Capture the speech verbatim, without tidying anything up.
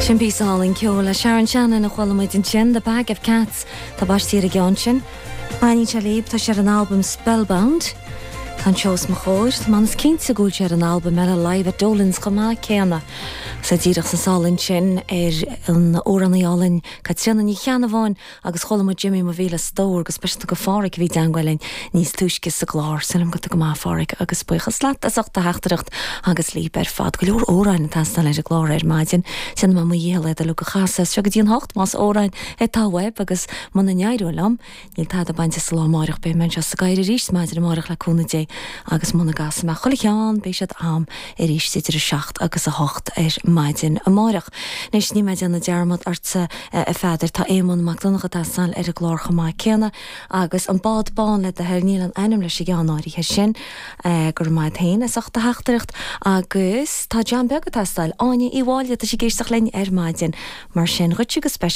Sin píosa álainn ceoil le Sharon Shannon a chuala muid ansin The Bag of Cats tá baistíar a gceann sin. Maní se léib tá sé an album Spellbound. Tá seo os mo chomhair Tá man cinnte go bhfuil sé ar an album eile Live at Dolan's chomh maith céanna. Sa díreach san sálinn sin ar an amhránaí álainn Caitríona Ní Cheannabháin agus chuala muid Jimmy mo mhíle stór go speisialta go Pháraic a bhí i dteagmháil linn níos túisce sa gclár Sílim go go maith Pháraic agus buíochas leat as ucht do theachtaireacht agus líp ar fad go leor amhráin ag teastáil ar an gclár ar maidin sin má dhíle le go chasa seo go dtí an hocht más amhráin atá uaibh agus muna n-éireoidh liom níl tada bainte sa lá amárach beidh mé sa gcair arís maidin amárach le cúnamh Dé agus muna gcasfaidh mé chuile cheann beidh siad am arís idir a seacht agus a hocht ar maidin amárach. Anois ní mé déanamh dearmad ortsa a Pheadair tá Éamonn Mac Donncha ag teastáil ar an gclár chomh maith céanna agus an bád bán le do thoil níl an ainm leis an gceann áirithe sin gur maith féin as ucht do theachtaireacht agus tá John Beag ag teastáil Áine Uí Mháille tá sí ag éisteacht linn ar maidin mar sin dhuit go speisialta